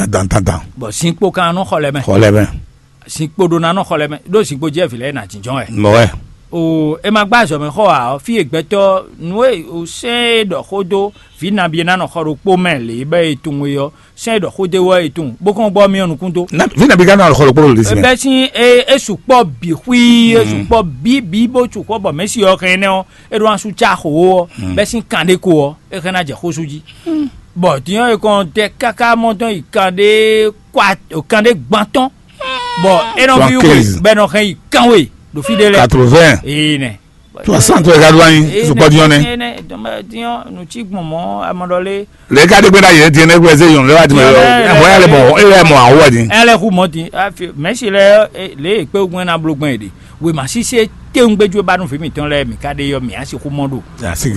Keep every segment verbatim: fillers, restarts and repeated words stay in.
dandandan. Bɔ zinkpo kan nɔ xɔ lɛ mɛ. Xɔ lɛ mɛ. Zinkpo ɖo na nɔ xɔ lɛ mɛ, ɖó zinkpo jɛ vǐ lɛ́ɛ na jínjɔ́n wɛ. Mɔ wɛ. O, e ma gbá azɔ̌ mɛ xɔ ǎ ɔ́, fí e gbɛtɔ́ nú e o sɛ́n e ɖɔ xó dó vǐ nabí e ná nɔ xɔ ɖokpó mɛ lě bɔ e tunwun é ɔ́, sɛ́n e ɖɔ xó dó é wɛ e tunwun, bó kɔn gbɔ myɔ nukún dó. Vǐ nabí ka nɔ xɔ ɖokpó ɖo lisi mɛ. Bɛ́ sín e e sukpɔ́ bǐ xwí, e sukpɔ́ bǐ bǐ bó sukpɔ́ bɔ mɛ̌si ɔ́ hɛn énɛ́ ɔ́, é ɖó ná sú cá xo ó ɔ́, bɛ́ sín kan ɖé ko ɔ́, é hɛn ná jɛ xó sú jí. Bɔ din ɔ́, è kɔn tɛ káká mɔ tɔn yi kan ɖé kwa kan ɖé gban tɔn, bɔ é nɔ ví wú bɔ è nɔ hɛn yi kan we ɖo fí ɖé lɛ́ɛ. Quatre-vingts. Ee nɛ. Soixante wɛ ka ɖó anyi sukpɔ́ din ɔ́ nɛ. Din ɔ́, nǔ cí gbɔn mɔ̌ amɔɖɔlé. Lě ka ɖé gbé ɖ'ayǐ din ɛnɛ gbɛzé yɔn lɛ wá din mɛ. Ɛhwɛ yɛ lɛ mɔ, é yɛ mɔ awɔ din. Ɛ lɛ hu mɔ din. Mɛ̌si lɛ lě e kpé gbɔn ná bló gbɔn è ɖe. Wěma sísé téwúngbéjú e ba nú vǐ mǐtɔn lɛ́ɛ mǐ ka ɖe ɔ́, mǐ á sixú mɔ ɖo.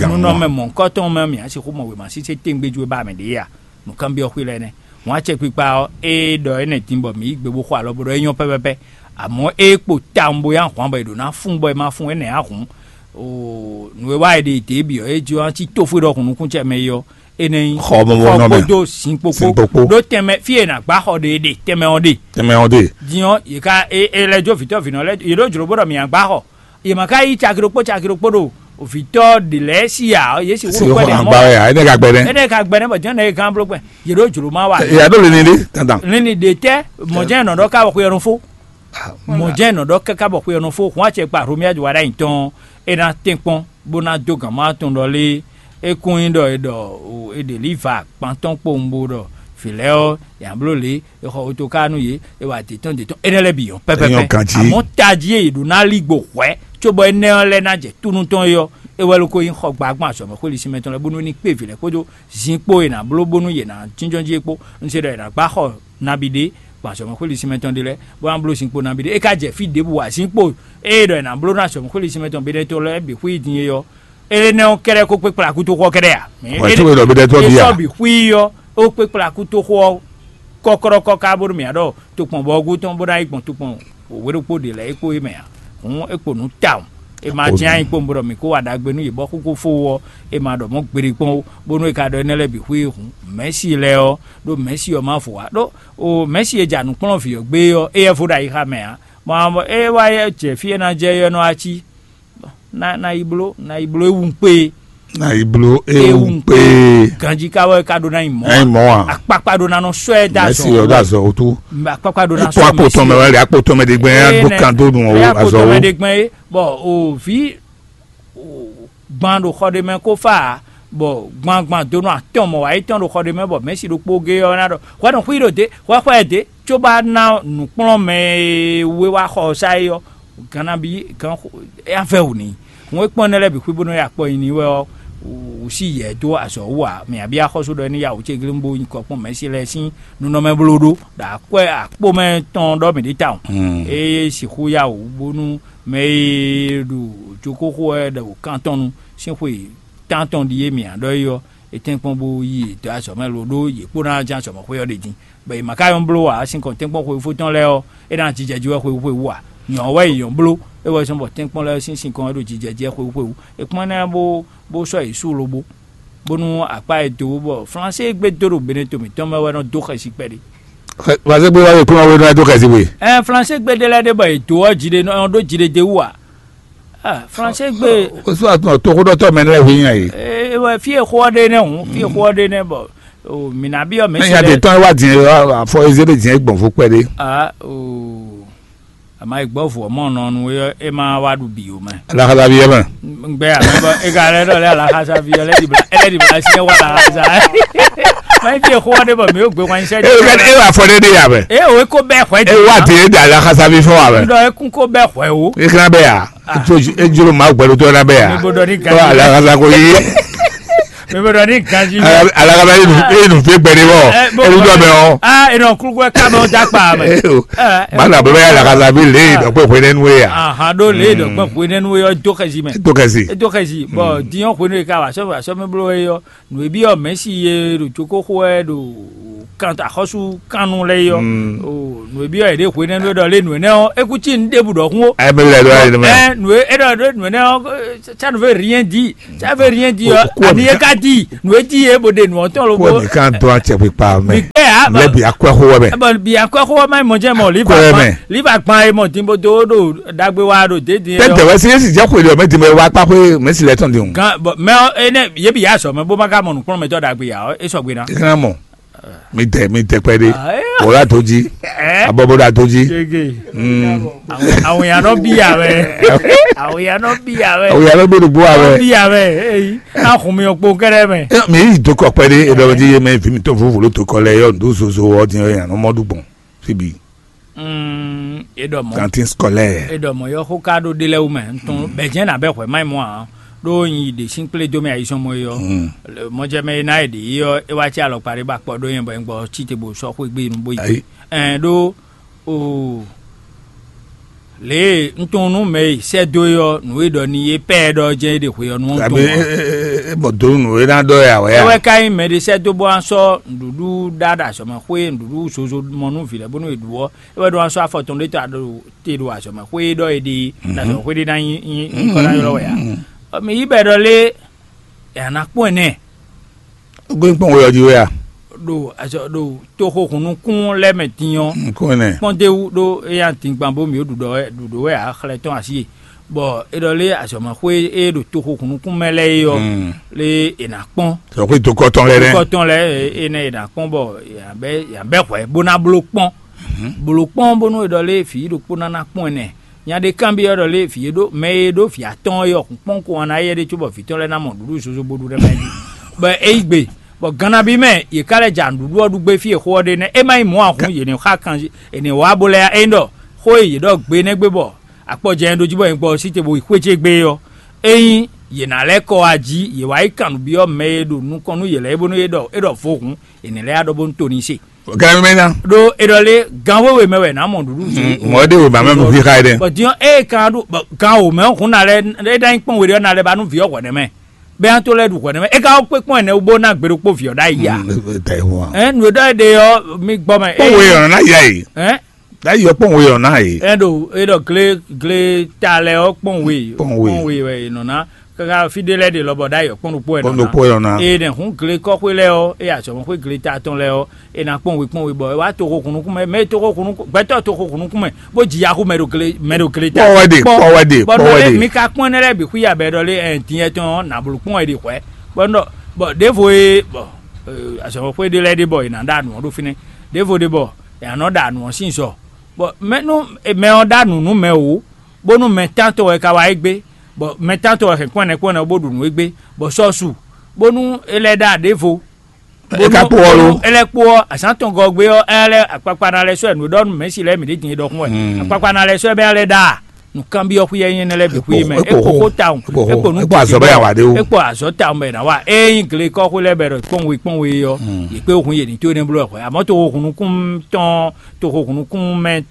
Nunɔmɛ mɔ̌hunkɔtɔn mɛ mǐ á sixú mɔ wěma sísé téwúngbéjú e ba mɛ ɖě a? Nǔkanbyɔ́ xwí lɛ́ɛ nɛ́. Wǎn acɛkpikpa ɔ́, ée ɖɔ énɛ́ din bɔ mǐ yí gbe bó xo alɔ bó ɖɔ é nyɔ́ pɛ́pɛ́pɛ́. Amɔ̌ ée kpo tawun bó yá hwǎn bɔ è ɖǒ ná fún bɔ è ma fún énɛ́ ǎ hǔn, nǔ e wá è ɖe dě bǐ ɔ́, é jló ná cí tófwé ɖɔhun nukúnnú ce mɛ é ɔ́, énɛ́ nyí xɔ kpódó sin kpókpó. Ɖó tɛnmɛ fí e è nǎ gbá xɔ ɖe é ɖe tɛnmɛ ɔ́ ɖe. Tɛnmɛ ɔ́ ɖe. Din ɔ́, yě ká é é lɛ́ jó vǐtɔ́ vǐnɔ lɛ́ɛ, yě ɖó jlǒ bó ɖɔ mǐ ná gbá xɔ. Yě ma ka yí caki ɖokpó caki ɖokpó ɖo vǐtɔ́ ɖě lɛ́ɛ sí ǎ, yě sixú ɖo kpɛ́ ɖě mɔ. Ǎ, énɛ́ ka gbɛ nɛ́. Énɛ́ ka gbɛ nɛ́ bɔ jɛ́n nɛ́ é gán bló kpɛn. Yě ɖó jlǒ má wa. Yě ɖó lini ɖé dandan. Lini ɖě tɛ́ mɔ̌ jɛ́n nɔ ɖɔ ká wɔ xwe ɔ́ nɔ fó. Mɔ̌ jɛ́n nɔ ɖɔ káká bɔ xwe ɔ́ nɔ fó. Hǔn acɛ kpa Romia jɔ wa ɖ'ayǐ tɔn, é ná tɛ́nkpɔ́n bó ná dó gǎn má tɔn ɖɔ lé. É kún nyí ɖɔ è ɖɔ è ɖě lí va gban tɔn kpowun bó ɖɔ vǐ lɛ́ɛ ɔ́, yě ná bló lě, è xɔ otoká nú yě, è wa dě tɔn dě tɔn, énɛ́ lɛ́ɛ bǐ nyɔ́ pɛ́pɛ́pɛ́. Amɔ̌ tají e yě ɖó ná lí gbo hwɛ̌, cóbɔ énɛ́ ɔ́ lɛ́ɛ ná jɛ túnú tɔn é ɔ́, é wɛ ló ko nyí xɔ gbǎgbɔn azɔ̌ mɛ xwé lisi mɛ tɔn lɛ́ɛ bónú ní kpé vǐ lɛ́ɛ kpódó zinkpo e è nǎ bló bónú yě ná jínjɔ́n jí é kpó. Un se ɖɔ è nǎ gbá xɔ nabí ɖé gbɔn azɔ̌ mɛ xwé lisi mɛ tɔn ɖé lɛ́ɛ, bó ná bló zinkpo nabí ɖé. É ka jɛ fí ɖěbǔ ǎ, zinkpo e è ɖɔ è nǎ bló ná azɔ̌ mɛ xwé lisi mɛ tɔn bé ɖɛ́ tɔn lɛ́ɛ bǐ xwí din é ɔ́, énɛ́ ɔ́ kɛ́ɖɛ́ kó kpé kplá kútoxo ɔ́ kɛ́ɖɛ́ ǎ. Wɛ tó e ɖɔ bé ɖɛ́ tɔn bǐ a? Sɔ́ bǐ xwí ɔ́, ó kpé kplá kútoxo ɔ́ kɔ́kɔ́ɖɔ́kɔ́ ká bónú mǐ ná ɖɔ tokpɔnbɔgú tɔn bó ná yi gbɔn tokpɔn wěɖokpó ɖě lɛ́ɛ é kpó é mɛ ǎ. Hǔn é kpo nǔ tawun. È ma jɛ́n anyí kpowun bó ɖɔ mǐ kó wa ɖagbe nú yě bɔ xú kó fó wú ɔ́, è ma ɖɔ mɔ̌ gbeɖé kpɔ́n ó, bónú è ka ɖɔ énɛ́ lɛ́ɛ bǐ xwí hǔn, mɛ̌si lɛ́ɛ ɔ́, ɖó mɛ̌si ɔ́ má vo ǎ. Ɖó o mɛ̌si e ja nǔkplɔ́nvǐ ɔ́ gbé ɔ́, éyɛ́ vo ɖo ayixa mɛ ǎ. Mɔ é wá jɛ fí e ná jɛ é ɔ́ nɔ wá cí. Na na yi bló na yi bló ewú kpé. Na yi bló ewú kpé. Ganjí ká wɛ ká ɖó ná yi mɔ̌. Ná yi mɔ̌ a? Akpakpa ɖó ná nɔ sɔ́ ɛ dó azɔ. Mɛsi ɔ́ dó azɔ wótú. Akpakpa ɖó ná sɔ́ akpo tɔn mɛ wɛ, akpo tɔn mɛ ɖe gbɛn á dó kan dó nu ɔ́ azɔ wó. Mɛ ɖe gbɛn é bɔ o vǐ gban ɖo xɔ ɖé mɛ kó fá ǎ, bɔ gban gban donu atɔn mɔ wǎ yi tɔn ɖo xɔ ɖé mɛ bɔ mɛ̌si ɖokpó gé ɔ́ ná ɖɔ hwɛ nɔ xwí ɖo dě hwɛ xwɛ dě, cóbá ná nǔkplɔ́nmɛ e wé wá xɔ ɔ́ sá é ɔ́, gannabi gan avɛ́ wǔ n'i. Hǔn é kpɔ́n énɛ́ lɛ́ɛ bǐ xwí bónú é akpɔ nyi n'i wɛ ɔ́, wǔ sí yɛ dó azɔ̌ wú ǎ. Mǐ abí axɔ́sú ɖɔ é ní ya wǔ céglín bó nyí kɔ kpɔ́n mɛ̌si lɛ́ɛ sín nunɔmɛ bló ɖó ɖo akwɛ́ akpó mɛ tɔn ɖɔ mǐ ɖi tawun. Ée sixú ya wǔ bónú mɛ e ɖo joxóxó wɛ ɖo kan tɔn nu sín xwe tántɔn ɖíe mǐ ná ɖɔ é ɔ́, é tɛ́nkpɔ́n bó yí yě dó azɔ̌ mɛ lo ɖó yě kpó ná ján azɔ̌ mɛ xwé ɔ́ ɖě din, bɔ è ma ka nyɔ́ bló ǎ. Sinkɔn tɛ́nkpɔ́n xweyífó tɔn lɛ́ɛ ɔ́, é ná jijɛ jí wɛ xweyíxweyí ǎ. Nyɔ̌ wɛ è nyɔ̌ bló, é wɛ zɔ́n bɔ tɛ́nkpɔ́n lɛ́ɛ sín sinkɔn ɔ́ ɖo jijɛ jí wɛ xweyíxweyí. È kpɔ́n énɛ́ bó bó sɔ́ yě sú lobo, bónú akpá e dó bɔ Flansé gbé dó ɖo Beneto mǐtɔn mɛ wɛ nɔ dó xɛsi kpɛɖé. Flansé gbé wá yě kplɔ́n wé nɔ dó xɛsi we. Ɛ Flansé gbé ɖé lɛ́ɛ ɖé bɔ è dó ɔ́ jí ɖé nɔ ɖó jí ɖé dé wú ǎ. Flansé gbé. Osu àtúntò toxóɖɔtɔ mɛ lɛ́ɛ hu nyí ayé. Ewɔ fí e xó ɔ́ ɖe nɛ́ hǔn, fí e xó ɔ́ ɖe nɛ́ bɔ mǐ ná byɔ́ mɛ. Mɛ nya de tɔn wá dín afɔ ezé ɖe dín gbɔn fó kpɛɖé. Aa o àmà ìgbɔ́ vɔ̌ mɔ nɔ nu é é má wá ɖu bǐ o mɛ. Alaxasavi yɛ mɛ. Gbɛ àmì bɔ é ka lɛ ɖɔ lɛ alaxasavi yɛ lɛ dìbò lɛ dìbò lɛ sinyɛ wá alaxasa. Mɛ fi xó ɔ́ ɖe bɔ mǐ ó gbé wáyé sɛ. E wá e wá fɔ ɖe ɖe yà mɛ. E o ko bɛ xwɛ. E wá di e da alaxasavi fɔ wa mɛ. Ŋdɔ ekun ko bɛ xwɛ o. E kan bɛ ya. Ejoro ma gbɛdo tɔ na bɛ ya. Mi bo dɔ ni gan. Alaxasa ko yi. Mi bo dɔ ni gan ji. Alaxasa yi nu e nu fi gbɛ de bɔ. E lu dɔ mɛ o. Ah, e nɔ kulu kɛ ka mɛ o da kpa mɛ. Ma na bɛ ya alaxasa bi le dɔ kpe hwe nenu ya. Aha do le dɔ kpe hwe nenu ya do xɛsi mɛ. Do xɛsi. Do xɛsi. Bon, diɲɔ hwe ne ka wa sɔ sɔ mi blo ye yɔ. Nǔ e byɔ́ Mɛ̌si e ɖo cókó xo wɛ ɖo kan axɔ́sú kannú lɛ́ɛ é ɔ́, nǔ e byɔ́ yě ɖe hwenɛ́nu e ɖɔ lé nǔ énɛ́ ɔ́, é kú cí nǔ ɖěbǔ ɖɔhun ó. Ɛ mɛ lɛ ɖɔ ayé mɛ. Ɛ nǔ e é ɖɔ ɖó nǔ énɛ́ ɔ́, ça ne veut rien dire. Ça veut rien dire ɔ́, ani é ka di nǔ e di é bo ɖe nǔ ɔ́ tɔn lobó. Kó mi kan dɔn acɛ kpikpa mɛ. Mi gbɛ ya. Lɛ bi akwɛ xo wɛ mɛ. Bɔ bi akwɛ xo wɛ mɛ mɔ jɛ mɔ liva Akwɛ mɛ. Liva gban e mɔ din bo do ɖo dagbe wa ɖo de din. Tɛ dɛwɛ si esi jɛ xwe ɖe mɛ din mɛ wa kpa xwe mɛ si lɛ tɔn din. Gan bɔ mɛ ɔ ene ye bi ya sɔ mɛ bó ma ka mɔ nukplɔn mɛ tɔ dagbe ya ɔ e sɔgbe na. Ìkan mɔ mi tɛ mi tɛ kpɛ ɖe. Wòlá tó jí. Abɔbɔdà tó jí. Àwọn èèyàn náà bí ya wẹ. Àwọn èèyàn náà bí ya wẹ. Àwọn èèyàn náà bí dùgbò wa wẹ. Bí ya wẹ. Eyi. Ahun mi ò kpo kɛ́ɖɛ́ mɛ. Mi yi dukɔ kpɛɖé edɔlɔdzi yé mɛ vi mi tó vovo ló dukɔ lɛ yɔ ndo zozo ɔ din yɔ yan nɔ mɔ ɖu gbɔn. Fibi. Mm, e ɖɔ mɔ. Kantin scolaire. E ɖɔ mɔ yɔ xó ká ɖó ɖé lɛ́ wú mɛ ntɔn bɛjɛ na bɛ xwɛ mayi mɔ a ɖó nyi ɖe sín kplé dó mɛ ayisɔn mɔ yɔ. Mɔjɛ mɛ e ná e ɖe yi yɔ e wá tsi alɔkpa ɖé ba kpɔ ɖó yɛn bɔ yɛn gbɔ tsi te bo sɔ xwé gbé nu bó yi. Ɛn ɖó o lě e un tunwun nú mɛ e sɛ́ dó é ɔ́, nǔ e ɖɔ n'i é pɛ́ ɛ ɖɔ jɛ́n é ɖe hwe ɔ́ nú ɔ́ Abé tunwun ǎ. É mɔ dó nǔ e ná ɖɔ é ǎ wɛ É a? Wɛ ka nyí mɛɖé sɛ́ dó bó ná sɔ́ nǔɖuɖu ɖa ɖo azɔ̌mɛxwé nǔɖuɖu zozo mɔ nú vǐ lɛ́ɛ bónú è ɖu ɔ́, é wɛ ɖó ná sɔ́ afɔ tɔn ɖé ta ɖo te ɖo azɔ̌mɛxwé e ɖɔ è ɖe é, ɖo azɔ̌mɛxwé ɖé ná nyí nyí nyí kɔ ná ylɔ́ wɛ ǎ. Ɔ, mi yí bɔ è ɖɔ lé è nǎ ná kpɔ́n ɛ nɛ́. Gbé kpɔ́n we ɔ́ jí wɛ a? Ɖo azɔ ɖo toxo hunnukún lɛ́ɛ mɛ din ɔ́, Kún ɛnɛ. Kpɔ́n d'é wú ɖó éyɛ́ ná dingban bó mǐ ɖu ɖɔ wɛ ɖu ɖǒ wɛ ǎ xlɛ tɔn así e. Bɔ é ɖɔ lé azɔ̌mɛxwé e ɖo toxo hunnukún mɛ lɛ́ɛ é ɔ́, lé è nǎ kpɔ́n. Sɔ xwé dokɔ tɔn lɛ nɛ. Dokɔ tɔn lɛ́ɛ é nɛ è nǎ kpɔ́n bɔ yǎ bɛ́ yǎ bɛ́ hwɛ̌ bó ná bló kpɔ́n. Bló kpɔ́n bónú è ɖɔ lé vǐ ɖokpó ná ná kpɔ́n ɛnɛ. Nya ɖé kanbyɔ́ ɖɔ lé vǐ e ɖó mɛ e ɖó vǐ atɔ́ɔ́n é ɔ́ hun kpɔ́n ko wan ná yɛ ɖé cóbɔ vǐ tɔn lɛ́ɛ ná mɔ nǔɖuɖu zozo bó ɖu ɖ'é mɛ jí. Bɔ é yí gbe, bɔ gannabi mɛ yě ká lɛ́ ja nǔɖuɖu ɔ́ ɖu gbé fí e xó ɔ́ ɖe nɛ́. É má nyí mɔ̌ a hun yě ní xa kan yě ní wá bó lɛ́ ɛ é ɖɔ xó e yě ɖɔ gbe nɛ́ gbé bɔ akpɔ jɛ ɛ ɖó jí bɔ nyɛ gbɔ ɔ́ sí te bo yi xwé ce gbé é ɔ́, ényí yě ná lɛ́ kɔ wá jí yě wá yi kan nǔ byɔ́ mɛ e ɖo nukɔn nú yě lɛ́ɛ é bónú é ɖɔ é ɖɔ vo hǔn, è nǐ lɛ́ yá ɖɔ bónú to ní se. Gɛlɛ mɛ ná. Ɖó é ɖɔ lé gan wéwe mɛ wɛ nǎ mɔ nǔɖuɖu zé. Mɔ̌ ɖé wěma mɛ nú xíxa é ɖe. Bɔ din ɔ́ ée kan ɖu bɔ gan wǒ mɛ ɔ́ hǔn ná lɛ́ é ná nyí kpɔ́n we ɖé ɔ́ ná lɛ́ ba nú vǐ ɔ́ hwɛ̌ nɛ́ mɛ. Bɛ́ ná tó lɛ́ ɖu hwɛ̌ nɛ́ mɛ é ka wá kpé kpɔ́n ɛnɛ wú bó ná gbe ɖokpó vǐ ɔ́ ɖ'ayǐ ya. Ɛ nǔ e ɖɔ é ɖe ɔ́ mi gbɔ mɛ. Kpɔ́n we ɔ́ ná yá yě. Ɛ Ɖ'ayǐ ɔ́ kpɔ́n we ɔ́ ná yě. Ɛ ɖo é ɖɔ glé glé ta lɛ ɔ́ kpɔ́n we Kpɔ́n we. Kpɔ́n we wɛ è nɔ ná káká fí ɖé lɛ́ɛ ɖe lɔbɔ ɖ'ayǐ ɔ́ kpɔ́n ɖokpó wɛ Kpɔ́n nɔ ná. Ɖokpó wɛ nɔ ná. Eye nɛ hǔn gle kɔ́xwé lɛ́ɛ ɔ́, eye azɔ̌mɔxwé gle ta tɔn lɛ́ɛ ɔ́, è nǎ kpɔ́n we kpɔ́n we bɔ é wá toxo hun nukún mɛ, mɛ e toxo hun nukún gbɛtɔ́ toxo hun nukún mɛ, bó ji yaxú mɛ ɖo gle mɛ ɖo gle ta. Kpɔ́ wɛ ɖe, kpɔ́ wɛ ɖe, Bɔ kpɔ́ nɔ wɛ lé ɖe. Mi ka kpɔ́n énɛ́ lɛ́ɛ bǐ xwí abɛ ɖɔ lé ɛ din yɛ tɔn ɔ́, nǎ bló kpɔ́n wɛ ɖi hwɛ̌. Bɔ nɔ bɔ ɖěvo e bɔ azɔ̌mɔxwé ɖé lɛ́ɛ ɖe bɔ è nǎ ɖa nǔ ɔ́ ɖó fínɛ́. Ɖěvo ɖe bɔ è nǎ nɔ ɖa nǔ ɔ́ sín zɔ. Bɔ mɛ nú mɛ ɔ́ ɖa nǔ nú mɛ wǒ, bónú mɛ tántɔn wɛ ka wá égbé, bɔ mɛ tántɔn wɛ hɛn kpɔ́n ɛnɛ kpɔ́n ɛnɛ bó ɖu nǔ égbé, bɔ sɔ́ su, bónú é lɛ́ ɖa ɖěvo. É ka kpó ɔ́ lo? É lɛ́ kpó ɔ́, azǎn tɔn gɔ́ gbé ɔ́, é lɛ́ akpakpa ná lɛ́ sɔ́ ɛ nǔ e ɖɔ nú mɛ̌si lɛ́ɛ mǐ ɖě din é ɖɔkun wɛ. Akpakpa ná lɛ́ sɔ́ ɛ bɛ́ lɛ́ ɖa nǔkanbyɔ́ xwí ɛ nyí énɛ́ lɛ́ɛ bǐ xwí mɛ. É kpo xó tawun, é kpo xó tawun, é kpo azɔ̌ bɛ́ awǎ ɖé wú. É kpo azɔ̌ tawun bɔ è nǎ wa. Ényí gle kɔ́xwé lɛ́ɛ bɛ ɖɔ kpɔ́n we kpɔ́n we ɔ́, yě kpé hun yě ní tó énɛ́ bló wɛ hwɛ̌. Amɔ̌ toxo hunnukún tɔn toxo hunnukún mɛ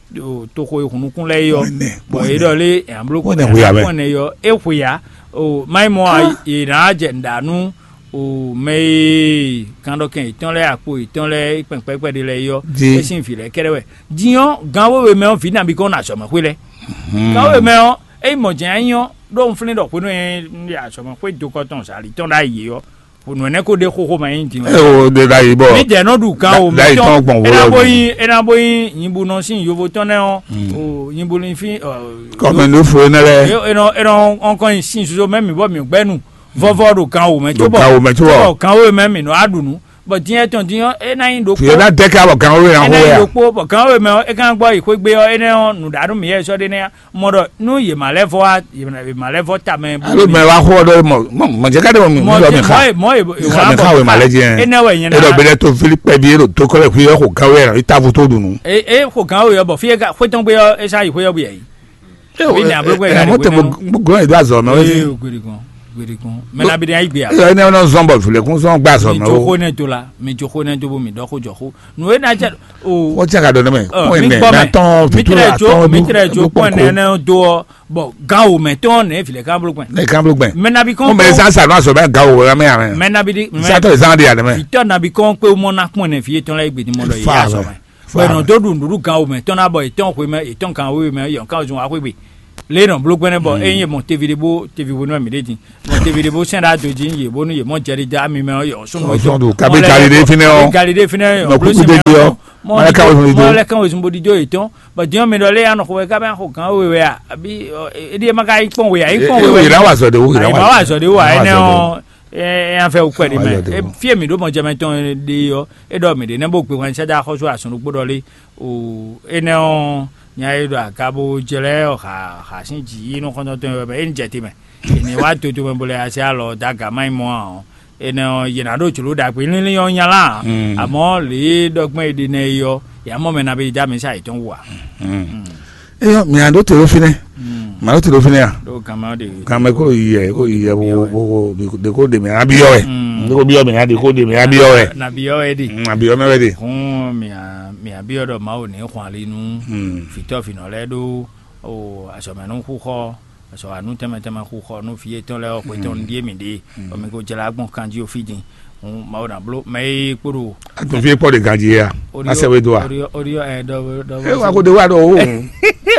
toxo e hunnukún lɛ́ɛ é ɔ́, bɔ é ɖɔ lé ǎ bló kpɔ́n ɛnɛ hu ya mɛ. Kpɔ́n ɛnɛ yɔ é xwe ǎ. O mayi mɔ a è nǎ jɛ nǔɖa nú o mɛ e kan ɖɔ kɛn yětɔn lɛ́ɛ akpo yětɔn lɛ́ɛ kpɛnkpɛ́kpɛ́ ɖé lɛ́ɛ é ɔ́, é sín vǐ lɛ́ɛ kɛ́ɖɛ́ wɛ. Din ɔ́, gan wéwe mɛ ɔ́ vǐ nabí kɔn ɖo azɔ̌mɛxwé lɛ́ɛ. Gan wéwe mɛ ɔ́, é nyí mɔ̌ jɛ́n é nyí ɔ́, ɖó un flín ɖɔ hwenu e un ɖe azɔ̌mɛxwé dokɔ tɔn zǎlí tɔn ɖ'ayǐ é ɔ́, nǔ énɛ́ ko ɖe xóxó mɛ nyí din wɛ. Eo de da yi bɔ. Mi jɛ nɔ ɖu gan o mi da yi tɔn gbɔn wo lɔ. Ena bo yin ena bo yin nyibunɔ sin yovo tɔn nɛ ɔ o nyibunɔ fin ɔ. Kɔmɛ ló fo ne lɛ. Enɔ enɔ ɔnkɔ yin sin soso mɛ mi bɔ mi gbɛ nu vɔvɔ ɖo gan o mɛ tó bɔ gan o mɛ tó bɔ gan o mɛ mi nɔ aɖu nu bɔ diɲɛ tɔn diɲɔ ena yin ɖo. Fi na dɛ ka bɔ gan o yɛ na ho ya. Ena yin ɖo kpo bɔ gan o mɛ ɔ e kan gbɔ yi xwegbe ɔ enɛ ɔ nu ɖa nu mi yɛ sɔ de ne ya. Mɔ ɖɔ nú yě ma lɛ́ vɔ wá yě ma lɛ́ vɔ tamɛ. Alo mɛ wá xo ɖɔ mɔ mɔ mɔ jɛ ká ɖe mɔ mi lɔ mi xa. Mɔ e mɔ e wá bɔ xa wema lɛ jɛ. Enɛ wɛ nyɛ na. E ɖɔ bɛ to fili pɛ bi e ɖo to kɔlɛ kui ɔxo gawo yɛ i tavu to dunu. E e xo gawo yɛ bɔ fi e ka xwe tɔn gbe yɔ e sa yi xwe yɔ bu yɛ yi. Bi ne abo gbɛ ya de mɔ tɛ mo gbɔ e do azɔ mɛ o. Ee o gbede kɔn gbede kɔn mɛ na bi de ayi gbe ya. Eyɔ ne nɔ zɔn bɔ vilekun zɔn gba azɔ mɛ o. Mi jo xo ne do la mi jo xo ne do bo mi dɔ xo jɔ xo nu e na jɛ o. Wọ́n ti àgàdo ní mẹ́. Kún mi ẹ̀ gbọ́ mẹ́. Mẹ́ tán mi fìtú tẹ̀lé jo àtọ́ mi tẹ̀lé jo kún ẹ̀ nẹ́nẹ́ do ọ bɔ gan o mɛ tɔn nɛ filɛ kan bolo gbɛn. Ne kan bolo gbɛn. Mɛ nabi kɔn. Mo mɛ sa sa no asɔ bɛ gan o wɛ mɛ amɛ. Mɛ nabi di. Sa tɔ zan di alɛ mɛ. Itɔ nabi kɔn kpe mɔ na kún ɛ nɛ fi etɔn lɛ egbe ni mɔ dɔ Fa yɛ asɔ mɛ. Mɛ bɛ nɔ do ɖu nuɖuɖu gan o mɛ tɔn na bɔ etɔn xwe mɛ etɔn gan o mɛ yɔn kan zun wa xwe gbe. Lě nɔ bló gbɛnɛ bɔ ényí mɔ tevi ɖé bó tevi hwenu mì ɖé din, mɔ tevi ɖé bó sɛn ɖá do jí yě bónú yě mɔ jɛɖiɖa mi mɛ ɔ́ yɔ sɔnnu. Sɔndu kabi gali ɖé fínɛ́ ɔ́, gali ɖé fínɛ́ ɔ́, nɔ kúkú dé jí ɔ́, mɔ lɛ kan wezun ɖiɖó. Mɔ lɛ kan wezun bó ɖiɖó yě tɔn. Bɔ din ɔ́ mi ɖɔ lé anɔ xɔ wɛ ká bɛ xɔ gán we wɛ a? Abi, éɖíe ma ka yi kpɔn we a? Yi kpɔn we wɛ. Yě ná wa zɔ ɖe wó, yě ná wa zɔ ɖe wó a? Énɛ́ ɔ́, ɛ ɛ afɛ wú kwɛ ɖi mɛ. Fie mi ɖó mɔ jɛmɛ tɔn ɖe ɔ́, é ɖɔ mi ɖe nɛ bó gbe wɛn sɛ́dá xɔsú asɔn ɖokpó ɖɔ lé. O, énɛ́ ɔ́, nya e ɖo aga bó jlɛ́ xa xa sín jǐ nú xɔ́ntɔn tɔn wɛ bɔ é ní jɛ te mɛ. È ní wá dodo mɛ bó lɛ́ así alɔ dó aga má nyí mɔ ǎ ɔ́, énɛ́ ɔ́, yě ná ɖó jlǒ ɖagbe línlín ɔ́ nya lá. Amɔ̌ lě e ɖɔ gbɔn è ɖe nɛ é ɔ́, yě á mɔ mɛ ná bɛ yi dó amǐsa yětɔn wú ǎ. Eyɔ, mǐ á ɖó te ɖó fínɛ́. Mǐ á ɖó te ɖó fínɛ́ a? Ɖó gan mɛ ɔ́ ɖe. Gan mɛ kó yi yɛ kó yi yɛ bó bó bó bó ɖe kó ɖe mɛ abyɔ wɛ. Ɖe kó byɔ mɛ aɖe kó ɖe mɛ abyɔ wɛ. Na byɔ wɛ ɖe. Abyɔ mɛ wɛ ɖe. Hɔn mǐ á mǐ á byɔ ɖɔ Mawu ní xɔn ali nú fǐtɔ́ fǐnɔ lɛ́ɛ ɖó o azɔ̌mɛnúxúxɔ, azɔ̌wanú tɛnmɛ tɛnmɛ xúxɔ nú vǐ yětɔn lɛ́ɛ ɔ́ xwetɔn ɖíe mǐ ɖe, bɔ mi ko jlá gbɔn kanjí ó fí din. Hǔn Mawu ná bló mɛ e kpo ɖo Atɔn fí kpɔ́ ɖe ganjí yá. Odiɔ Asɛ we do a? Odiɔ odiɔ ɛ dɔ dɔ. E wa ko de wa dɔ o.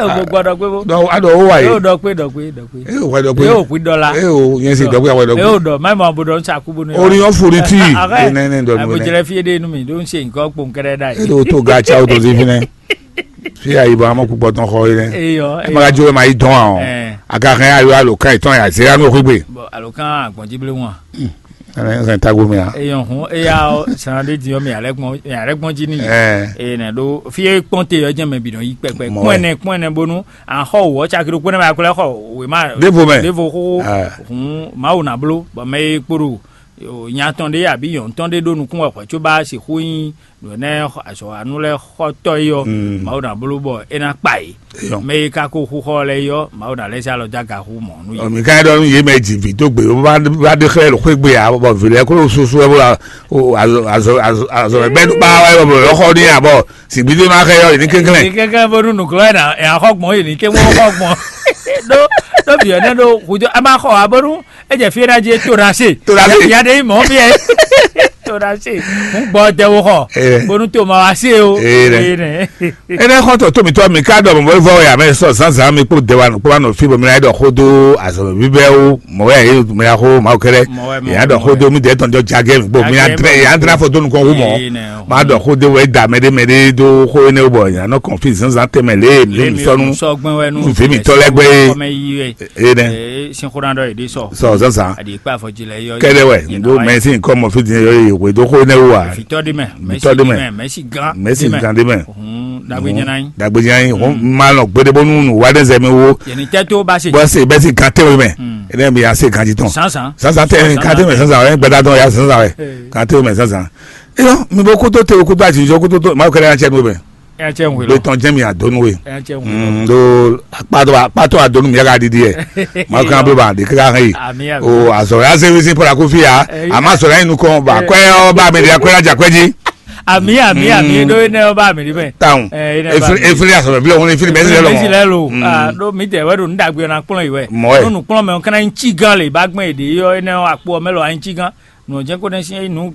O gbɔ dɔ kpe bo. Dɔ a dɔ o wa ye. E o dɔ kpe dɔ kpe dɔ kpe. E o wa dɔ kpe. E o kpi dɔ la. E o yẹn si dɔ kpe a wa dɔ kpe. E o dɔ mɛ mɔ bo dɔ n sa ku bo ne. Odiɔ foriti. Arrête. Ne ne dɔ Ɛ bo nu ne. Jɛlɛ fie de nu mi do n se nkɔ kpo nkɛrɛ da E ye. Do to ga tsa o to zi fi nɛ. Fi ayi bɔ amɔ kpukpɔ tɔn xɔ yi nɛ. Eyɔ. E ma ka jo ma yi dɔn a o. Ɛ. A ka hɛn ayo alo kan yi tɔn ya zera nu xwegbe. Bɔn alo kan agbɔnji ble wọn. Ɛnɛ n sɛn tago mɛ a. Eyɔn hun eya ɔ sàn ɖe di ɔ mi alɛ gbɔn mi alɛ gbɔn ji ni. Ɛ. Eye nɛ ɖo fi e kpɔn te ɔ jɛ mɛ bi nɔ yi kpɛkpɛ Mɔ kpɔn wɛ. Ɛnɛ kpɔn ɛnɛ bonu an xɔ wɔ cakiri kpɔn ɛnɛ ma kplɛ xɔ wema Devo mɛ. Devo xo Ɛ. Hun mawu na blo bɔ mɛ e kpo ɖo nya tɔn ɖe abi yɔn tɔn ɖe ɖo nukun wɛ xɔ tso ba si xu nyi nǔ ɛnɛ azɔ anu lɛ xɔtɔ yi ɔ mawu na blo bɔ e na kpa yi. Eyɔn. Mɛ yi ka ko xuxɔ lɛ yɔ mawu na lɛ zé alɔ dó aga xú mɔ nú yě. Ɔ, mi ka ɖɔ nú yě mɛ dzi vǐ dó gbe bó bá bá ɖe xlɛ́ ɖo xwé gbe ǎ bɔ vǐ lɛ́ɛ kó ɖo susu wɛ bó ɖo azɔ azɔ azɔ azɔ bɛ ɖó kpa wɛ bɔ yɔ xɔ ní abɔ sìgbídé ma xɛ yɔ yě ní kɛnklɛn. Ní kɛnklɛn bónú nǔglɔ́ ɛ nà ɛ axɔ gbɔn yě ní kɛnklɛn xɔ gbɔn. Ɖó ɖó vǐ ɔ́ nɛ́ ɖó hùjɔ a ma xɔ ǎ bónú é jɛ fí é ná jí é to ɖa se. To ɖa se. Ìyá ɖe nyí mɔ̌ bí ɛ. To ɖa se. Mú gbɔ dɛ wo xɔ. Ee. Bónú to ma wá se o. Ee, nɛ. Ee, nɛ. Énɛ́ xɔ́ntɔn tó mǐtɔn mi ká ɖɔ mɔ̌ vɔ wɛ amɛ sɔ zǎnzǎn mi kpó dɛwa kpó ma nɔ fí bɔ mi ná ɖɔ xó dó azɔ̌ bíbɛ́ wú mɔ̌ wɛ yě mi ná xó Mawu kɛ́ɖɛ́. Mɔ̌ wɛ, mɔ̌ yě ná wɛ, ɖɔ mɔ̌ xó wɛ. Dó mí dɛ́ tɔn jɔ jagɛ mi kpó mi ná Jagɛ drɛ mi yě ná kpó. Drɛ afɔ dó nukɔn wú mɔ̌. Ee, nɛ. Má ɖɔ xó dó wɛ da mɛɖé mɛɖé dó xó énɛ́ wú bɔ yě ná nɔ kɔn fí zǎnzǎn tɛmɛ lě mi Lě mi sɔ́ nú sɔ́ gbɛn wɛ nú nú vǐ mǐtɔn lɛ́ɛ gbé. Xɔmɛ yi wɛ. Ee, nɛ. Ee, sin xó ná ɖɔ yě ɖi sɔ. Sɔ zǎnzǎn. Aɖi kpé afɔ jí lɛ yɔ. Kɛɖɛ wɛ, ndo mɛ si nkɔ mɔ fi din yɔ ye hwe do xo ne wa. Fitɔ di mɛ, Fitɔ di mɛ. Mɛsi gan. Mɛsi gan di mɛ. Hun dagbe nyana yi. Dagbe nyana yi. Hun ma nɔ gbede bonu nu wa de zɛ mi wo. Yɛni tɛ to ba se. Bɔ se bɛ si gan te mɛ. Ene mi ya se gan di tɔn. Sansan. Sansan te gan te mɛ sansan wɛ gbɛda dɔn ya sansan wɛ. Gan te mɛ sansan. Eyɔ mi bo kuto te kuto ati jɔ kuto to ma kɛlɛ ya cɛ no bɛ. Ɛ cɛ ŋwe lɔ. Gbetɔn jɛ mi adonu we. Ɛ cɛ ŋwe lɔ. Mm, do akpatɔ akpatɔ adonu mi ka didi yɛ. Ma kan blo ba de kaka hɛn yi. Ami ami. O azɔ ya se wisi pɔla ko fi ya. Ɛ, ama sɔ ya inu kɔn ba kɔɛ ɔ ba mi de ya kɔɛ la ja kɔɛ ji. Ami ami ami do ne ɔ ba mi di mɛ. Taun. Ɛ, ene ba efili mi. Efili asɔ bɛ bilɔ ŋun efili bɛ si lɛ lɔ. Efili bɛ si lɛ lɔ. Mm. Ah, do mi tɛ wɛ do nu dagbe na kplɔn yi wɛ. Mɔ wɛ. Do nu kplɔn mɛ o kana ŋci gan le ba gbɛn yi de yɔ ene akpo mɛ lɔ anci gan. Nɔ jɛ ko ne si nu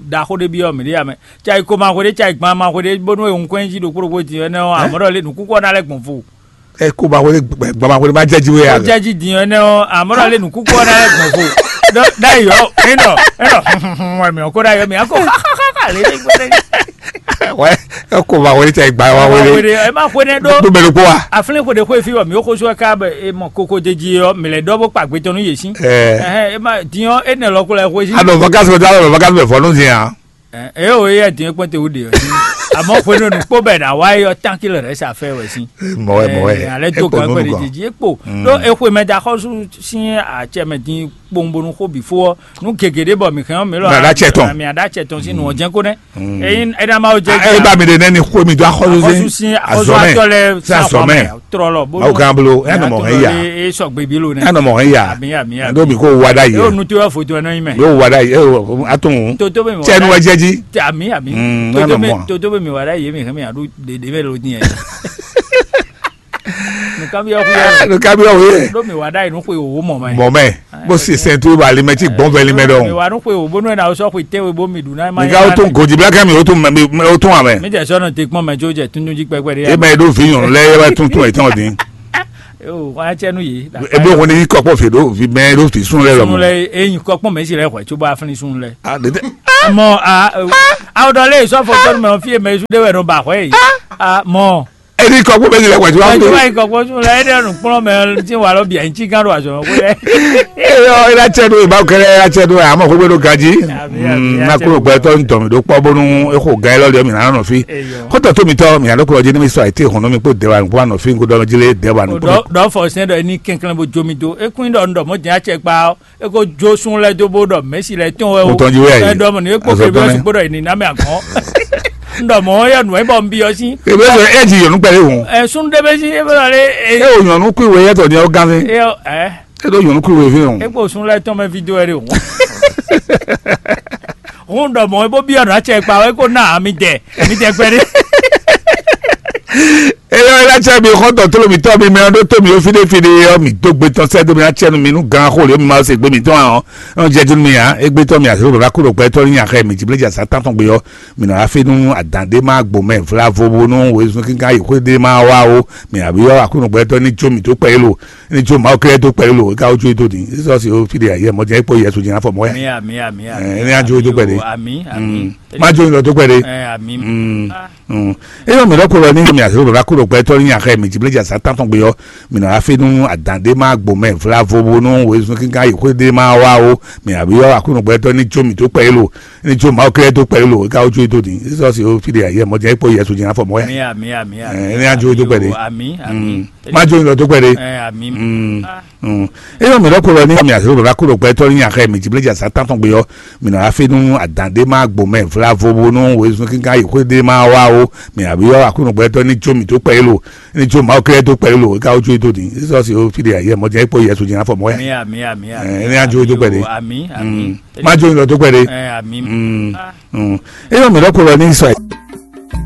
da ko de bi yɔ mi de ya mɛ. Tsa yi ko ma hwe ɖe, tsa yi gban ma hwe ɖe, bónú e ŋkɔn jí ɖokpó ɖokpó din ɛnɛ ɔ́, amɔ̌ ɖɔ lé nǔkúkú ɔ́ ná lɛ́ gbɔn fo. Ɛ ko ma hwe ɖe gbɛ- gbama hwe ɖe ma jɛ ji we Ó ya. Jɛ jí din ɛnɛ ɔ́, amɔ̌ ɖɔ lé nǔkúkú ɔ́ ná lɛ́ gbɔn fo. Ɖɔ ɖ'ayǐ ɔ́, é nɔ é nɔ wɛ mǐ ɔ́ kó ɖ'ayǐ ɔ́, mǐ á kó xaxaxa lé ní gbɔdɛ. Wɛ ɛ ko ma hwe ɖe tsa yi gba wa Wa hwe hwe ɖe. Ɖe, ɛ má hwe nɛ ɖó. Ɖo mɛ ɖokpó wa. Aflín hwe ɖe xwe fí wɔ mǐ ó xosú ɛ ká bɛ é mɔ kókó jɛ jí ɔ́, mǐ lɛ́ ɖɔ bó kpa gbetɔ́ nú yě sín. Ɛ. Ɛhɛn, é má din ɔ́, é nɛ lɔ kó lɛ xwe sín. Anɔ vacances mɛ do anɔ vacances mɛ fɔ nú din a. Ɛ, eye o eya din kpɔn te wú ɖe ɔ. Àmọ́ xwenu nu kpó bɛ na wá yɔ tánkì lɛ rẹ sa fẹ́ wɛ sí. Mɔwɛ mɔwɛ. Alẹ́ tó kan kpɛ de jí kpó. Ɖó exwe mɛ da xɔsu sín atsɛ mɛ din kpowun bonu xó bǐ fó ɔ. Nu gègé ɖé bɔ mi hɛn mi lɔ. Mi ada tsɛ tɔn. Mi ada tsɛ tɔn sí nu ɔjɛ ko nɛ. Eyin ɛna ma o jɛ. E ba mi de nɛ ni xwe mi do axɔsu sí. Axɔsu sí axɔsu atɔ lɛ sí asɔmɛ. Trɔlɔ bó. Awo kan bolo ɛnɔ mɔ hɛn ya. E sɔ gbebi lo nɛ. Ɛnɔ mɔ hɛn ya. Ami ami ami. Ndo mi ko wada yi. Yóò nu tó yọ foto ɛnɔ yi mɛ. Yóò wada yi. Atún. Toto bɛ mi wada. Tsɛ nu wɛ jɛ ji. Ami ami. Toto bɛ mi wada yi mi hɛn mi adu dede bɛ lo diɛ. Nùkan bí ɔkú yɛ. Nùkan bí ɔkú yɛ. Ɖó mi wá ɖ'ayǐ nú xwe wòwó mɔ mɛ. Mɔ mɛ. Bó si sɛn tó ba limɛ tí gbɔn vɛ limɛ dɔn. Mi wá nú xwe wò bónú ɛ na sɔ́ xwe tɛ́nwe bó mi ɖu ná. Nìkan ó tún gòjì bílá kẹ́ mi ó tún mɛ ó tún amɛ. Mi jẹ sɔnù te kpɔn mɛ tí ó jẹ tún jí pẹpẹ ɖé. E mɛ ɖó vi nyɔnu lɛ yɛ wɛ tún tún ɛ tɔn dín. Eo, wọn acɛ nú yě. Ebe wọn ní kɔkpɔ fè ɖo vi mɛ ɖo fi sún lɛ lɔ Sunu mɔ. Lɛ, eyin kɔkpɔ mɛ si lɛ hwɛ tso bɔ afin sunu lɛ. Ah, dede. Mɔ a, a o dɔ lé sɔ fɔ tɔnu mɛ fi mɛ su de wɛ no ba hwɛ yi. A mɔ. Edi kɔkpɔ mɛ si lɛ hwɛ tso Wájú bɔ. Wáyé kɔkpɔ sunu lɛ, ɛdɛ nu kplɔn mɛ ti wà lɔ bia ntsi gán do azɔ ko lɛ. Eyɔ ela cɛ do ìbá kɛlɛ ela cɛ do àmọ́ kó gbé do gají. Àmì, àmì, na àti kúrò gbẹ tọ́ ntọ́ mi ɖó kpọ́ bónú exo gan yẹn lọ́dọ̀ mi nà nọ fi. Eyɔ. Kótó tó mi tọ́ mi àdókòrò jẹ́ ní mi sọ àìtí ìhùn mi kó dẹ́wà nù kó wà nù fi kó dọ́ mi jílé dẹ́wà nù kó. Dɔ dɔ fɔ sɛn dɔ ní kɛnklɛn bó jó mi dó ekún dɔ ń dɔ mɔ jẹ́ àtsɛ kpa eko jó sun lɛ dó bó dɔ mɛsi lɛ tɔn wɛ o. Mo tɔn jí wɛ yìí. Ɛ dɔ mɔ ní ekpó Azɔ kébí tɔn ɔsi nɛ. Gbódɔ yìí ní námɛ àgɔn. Ń dɔ mɔ yɛ nù ɛ bɔ ń bi ɔsi. Ebe sɔ ɛ ji yɔnu kpɛlɛ ŋu. Ɛ sun de bɛ si ebe lɔ lé. E o yɔnu kú ìwé yɛtɔ ni ɔ gan fi. E ɔ ɛ. E do yɔnu kú ìwé fi ŋu. Ekpó sun lɛ tɔn mɛ fi dó ɛ de o. Hun dɔ mɔ ebo bi ɔnà tsɛ kpa wɛ ko na mi dɛ mi dɛ gbɛ de. Eyɔ ela tsɛ mi xɔtɔ tolo mi tɔ mi mɛ ɖo to mi o fide fide yɔ mi do gbe tɔn sɛ do mi atsɛ nu mi nu gan xo le mi ma se gbe mi tɔn ahɔ. Ɔn jɛ dunu mi ya egbe tɔ mi asiro baba kuro gbɛ tɔ ni axɛ mi jibleja sa tantɔn gbe yɔ. Mi na afi nu adan de ma gbo mɛ vla vo bo nu wo esun kinkan yi xwe de ma wa o. Mi abi yɔ akunu gbɛ tɔ ni tso mi to kpɛ yi lo. Ni tso ma kɛ to kpɛ yi lo ka o tso yi to di sisɔ si o fide ya yɛ mɔ jɛ kpo yɛ so jɛ afɔ mɔ ya. Ami ami ami ami. Ɛ ni a jo yi to kpɛ de. Ami ami. Ma jo yi lɔ to kpɛ de. Ɛ ami. Mm. Eyɔ mi ɖɔ ko lɔ ni mi asiro baba kuro gbɛ tɔ ni axɛ mi jibleja sa tantɔn gbe yɔ. Mi na afi nu adan de ma gbo mɛ vla vo bo nu wo esun kinkan yi xwe de ma wa o. Mi abi yɔ akunu gbɛ tɔ ni tso mi to kpɛ yi lo. Ni tso ma kɛ to kpɛ yi lo ka o tso yi to di sisɔ si o fide ya yɛ mɔ jɛ kpo yɛ so jɛ afɔ mɔ ya. Ami ami ami ami. Ɛ ni a jo yi to kpɛ de. Ami ami. Ma jo yi lɔ to kpɛ de. Ɛ ami. Mm. Eyɔ mi ɖɔ ko lɔ ni mi asiro baba kuro gbɛ tɔ ni axɛ mi jibleja sa tantɔn gbe yɔ. Mi na afi nu adan de ma gbo mɛ vla vo bo nu wo esun kinkan yi xwe de ma wa o. Mi abi yɔ akunu gbɛ tɔ ni tso mi to kpɛ yi lo. Ni tso ma kɛ to kpɛ yi lo ka o tso yi to di sisɔ si o fide ya yɛ mɔ jɛ kpo yɛ so jɛ afɔ mɔ ya. Ami ami ami ami. Ɛ ni a jo yi to kpɛ de. Ami ami. Ma jo yi lɔ to kpɛ de. Ɛ ami. Mm. Eyɔ mi ɖɔ ko lɔ ni sɔ.